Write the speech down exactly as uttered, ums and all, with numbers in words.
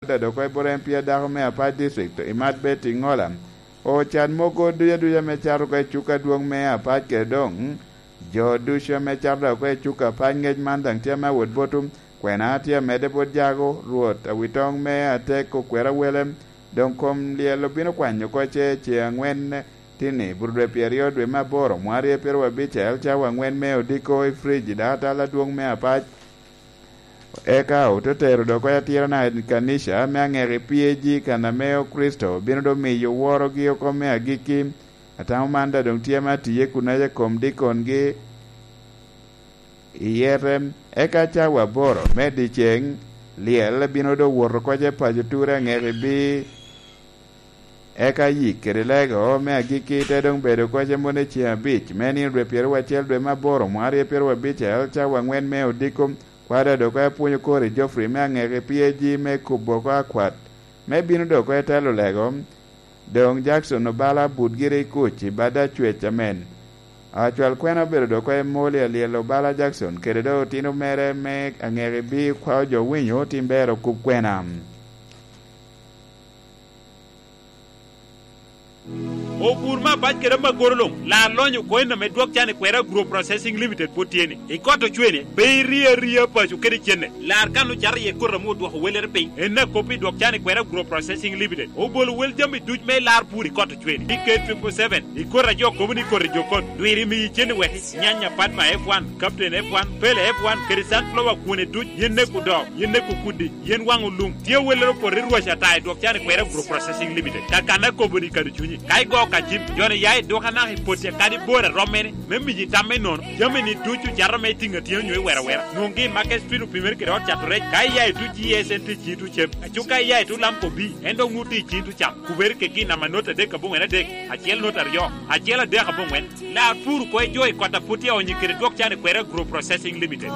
Dado oko i bot M P a dako me Apac District, Imat Betty Ŋola, ocat mogo duc aduca ame cato oko i cuk adwoŋ me Apac kede doŋ jo ducu ame cato oko i cuk Apac. Ŋec man daŋ tye ame awot botwu. Kwena tye amedde bot jago, Rwot awitoŋ me atek okwero awele, doŋ kom lyel obino kwanyo oko ce ceŋ aŋwen tini, bur dwe pyeraryo dwe me aboro, mwarye pyeraryo abicel, cawa aŋwen me odiko i Fridge, dako atal adwoŋ me Apac. Eka ote tero dok oko atirana i kanica me aŋeki P A G, kan ame Okricito bino doŋ miyo worogi oko me agikki. Atamo man daŋ doŋ tye ame atiye kunaca i kom dikongi i yete. Eka cawa aboro me dyeceŋ, lyel bino doŋ wot oko ce paco ture aŋeki bi Eka yik kede lego me agikki te doŋ bedo oko cem wot i ceŋ abic, me nino dwe pyeraryo acel dwe me aboro, mwarye pyeraryo abicel, cawa aŋwen me odiko. Kwada dok apwonyo kor i Geoffrey me aŋeki P A G me kubo oko akwat, me bino dok oko i telo lego. Doŋ Jackson Obala but gire i kuc i bada cwec amen. Acwal kwena obedo dok oko i moli alyel Obala Jackson kede doŋ otino mere me aŋeki bi kwao jo winyo tim ber okub kwena. Obur me Apac kede Amagoro luŋ, lar lonyo oko en ame dwok can i kwera Agro Processing Limited pwod tye ni. I kot ocwene, pe iri aria paco kede cenne. Lar kan ocato iye koti ame odwoko wellere piny. En akop i dwok can i kwera Agro Processing Limited. Obolo wel jami duc me lar pur i kot ocwene. I K triple seven, i koti a jo kobo ni koti jo kot, dwiri miyi cenne wek nyanya Padma F one, Captain F one, Pele F one, kede Sunflower kwone duc, yen neko doo, yen neko kudi, yen waŋ olum. Tye awellere opoto i rwac ata i dwok can i kwera Agro Processing Limited. Ka kan akobo ni kado cunyi. Ka igo ka cim, joni ya i duk anaka i poti akadi bor a rom mene, me miyi tam me nono. Jami ni ducu cato me tiŋ atyeno nyo i wera wera. Nwoŋgi i Market Street opimere kede ot cato rec. Ka iya i tuc G S N T ciŋ tuc cem. Aco ka iya i tuc Lamco B, en dok nwoŋo tye i ciŋ tuc cam. Kubere kegi i namba not adek aboŋwen adek, acel not aryo, acel adek aboŋwen. Lar pur oko i jo i kot a pwod tye aonyo kede dwok can i kwera Agro Processing Limited.